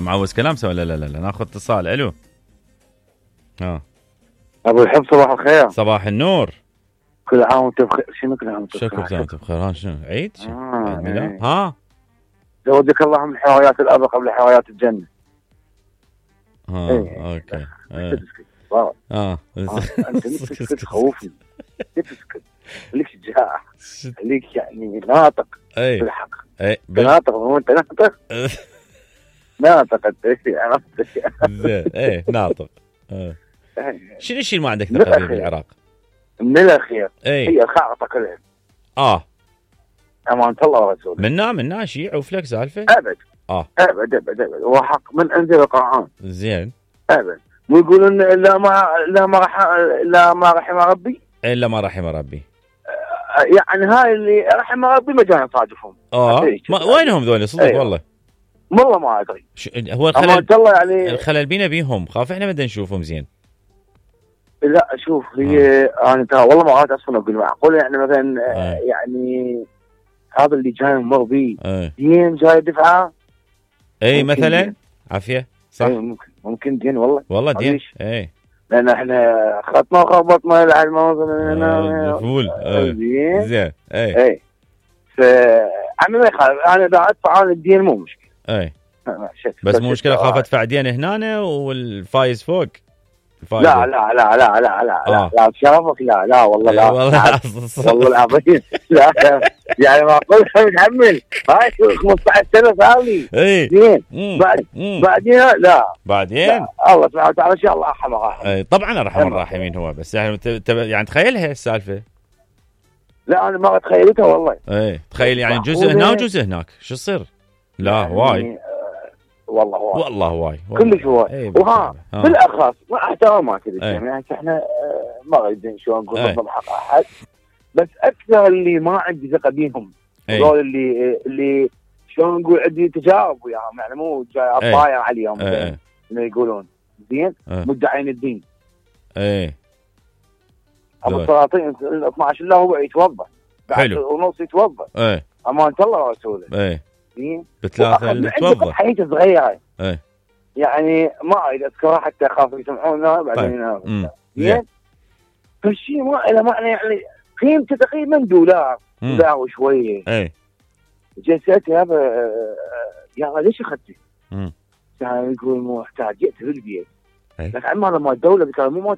معوز كلام سوا. لا لا لا ناخذ اتصال. الو. ابو الحب صباح الخير. صباح النور. كل عام وانت بخير. شنو كل عام وانت بخير؟ شكرا وانت بخير. شنو عيد؟ عيد ميلاد؟ ها زودك الله من حوايات الارض قبل حوايات الجنه. اوكي. انت تسكت تخوفني. تسكت ليك شجاع ليك يعني ناطق بالحق. ناطق وانت ناطق. ناطق انت زين. ناطق. شنو الشيء اللي ما عندك ثقه فيه بالعراق؟ من الاخير هي الخارطه كلها. أمانة الله ورسوله. منا شيء عوفلك سالفه؟ ابد. ابد وحق من انزل القرآن. زين. ابد. ويقولون لا ما رحم ربي. الا ما رحم ربي. يعني هاي اللي رحم ربي ما جانا نصادفهم. وينهم ذول صدق؟ والله ما ادري. هو الخلل الله يعني الخلل بينا بيهم، خاف احنا بدنا نشوفهم زين. لا شوف هي انا ترى والله ما قاعد اصلا اقول معقول يعني مثلا يعني هذا اللي جاي مر بيه دين جاي دفعه. مثلا عافيه صح. ممكن دين والله دين. لان احنا خطنا وخبطنا فول. زين. انا ما يخالف، انا اذا ادفع عن الدين مو مشكله. بس مو مشكله خاف ادفع دين هنا والفايز فوق. لا شرفك. لا والله لا والله العظيم. لا يعني معقول متحمل هاي 15 سنه صار لي. زين بعدين لا الله سبحانه وتعالى ان شاء الله ارحم الراحمين. طبعا ارحم الراحمين هو، بس يعني يعني تخيلها السالفه. لا انا ما تخيلتها والله. تخيل يعني جزء هنا وجزء هناك شو يصير؟ لا يعني واي والله واي كلش هواي. وها بالاخص مع احترامات يعني احنا ما قاعدين شو نقول نضرب حق احد، بس اكثر اللي ما عندي ثقه بيهم هذول اللي شلون نقول عندي تجارب وياهم، يعني مو جاي اطاير عليهم انه يقولون زين مدعين الدين. ابو السلاطين 12 له هو يتوضا حلو ونص يتوضا. امانه الله ورسوله. بثلاثه اللي توضا حيته صغيره. يعني ما اريد اذكرها حتى اخاف يسمعونا بعدين. زين فالشيء ما له معنى، يعني قيمته تقريبا $1 وشويه. جلستها يا ليش اخذتي؟ يعني يقول مو محتاج جئت بالبيت. لكن عمال ما الدوله بتقول مو